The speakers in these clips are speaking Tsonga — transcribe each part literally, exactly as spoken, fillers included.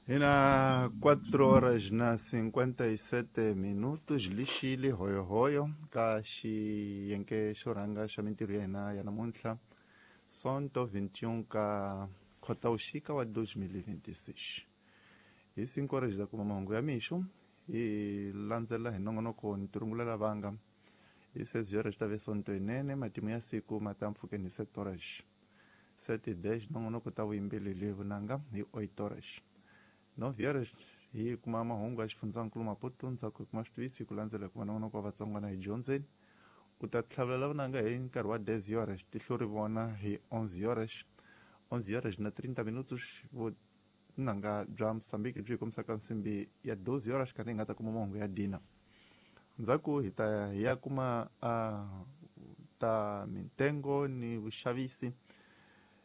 E na quatro horas na cinquenta e sete minutos lixile hoyohoyo ka xiyenge xo rhanga xa mintirho ya hina ya namuntlha sonto vinte e um ka Khotavuxika wa dois mil e vinte e seis. Hi cinco horas da kuma mahungu ya mixo hi landzela hi nongonoko ni tirungulela vanga hi seis horas ta ve sonto yinene matimu ya siku ma ta mpfhukeni hi sete horas sete e dez nongonoko ta vuyimbeleri vunanga hi oito horas. Nove horas hi kuma mahungu ya xifundzankulu Maputo ndzhaku hi kuma switiviso hi ku landzela hi kuma nongonoko wa Vatsonga na hi dyondzeni u ta tlhavelela vunanga hi nkarhi wa dez horas tihlo ri vona hi onze horas onze horas na trinta minutos vunanga bya Mozambique byi hi kombisaka nsimbi ya doze horas karhi hi nga ta kuma mahungu ya dina ndzhaku hi ta hi ya kuma uh, ta mintengo ni vuxavisi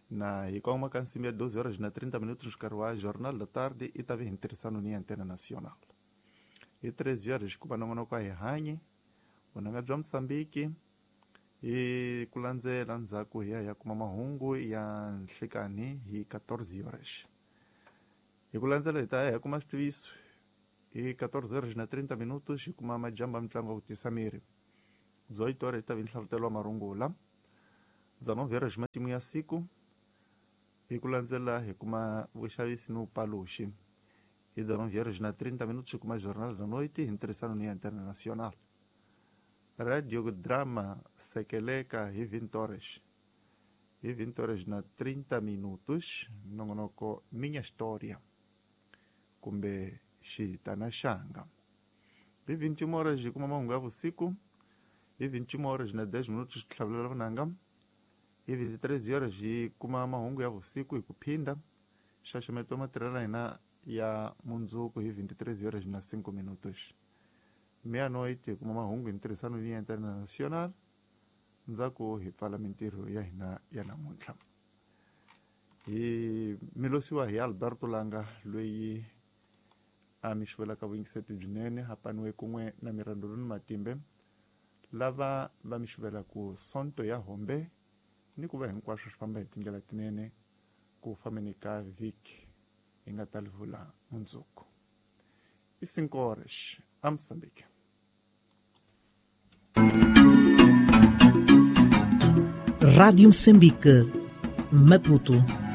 na hi kongoma ka nsimbi ya doze horas na trinta minutos nkarhi wa Jornal da Tarde i ta ve hi ntirhisano ni Antena Nacional. Hi treze horas ku va nongonoko wa hi hanyi vunanga bya Mozambique hi ku landzela ndzhaku hi ya hi ya kuma mahungu ya nhlikani hi quatorze horas. Hi ku landzela hi ta ya hi ya kuma switiviso hi quatorze horas na trinta minutos hi kuma majambu ya mitlangu ya ku tisa miri dezoito horas hi ta vi nhlavutelo wa marungula dezenove horas matimu ya siku hi ku landzela hi kuma vuxavisi ni vupaluxi hi dezenove horas na trinta minutos hi kuma Jornal da Noite hi ntirhisano ni Antena Nacional. Radio Drama Sekeleka hi vinte horas hi vinte horas na trinta minutos nongonoko Minha História kumbe Xitana Xanga. Hi vinte e uma horas hi kuma mahungu ya vusiku hi vinte e uma horas na dez minutos tlhavelela vunanga hi vinte e três horas hi kuma mahungu ya vusiku hi ku phinda nxaxameto wa matirhelo ya hina ya mundzuku hi vinte e três horas na cinco minutos. Meia-noite hi kuma mahungu hi ntirhisano ni Antena Nacional ndzhaku hi pfala mintirho ya hina ya namuntlha. Hi milosiwa hi Alberto Langa loyi a mi xuvelaka vuyingiseti byinene hapaniwe kun'we na Mirandolini Matimbe lava va mi xuvelaka sonto ya hombe ni ku va hinkwaswo swi famba hi tindlela tinene ku fambeni ka vhiki hi nga ta livula mundzuku. I cinco horas a Moçambique. Rádio Moçambique, Maputo.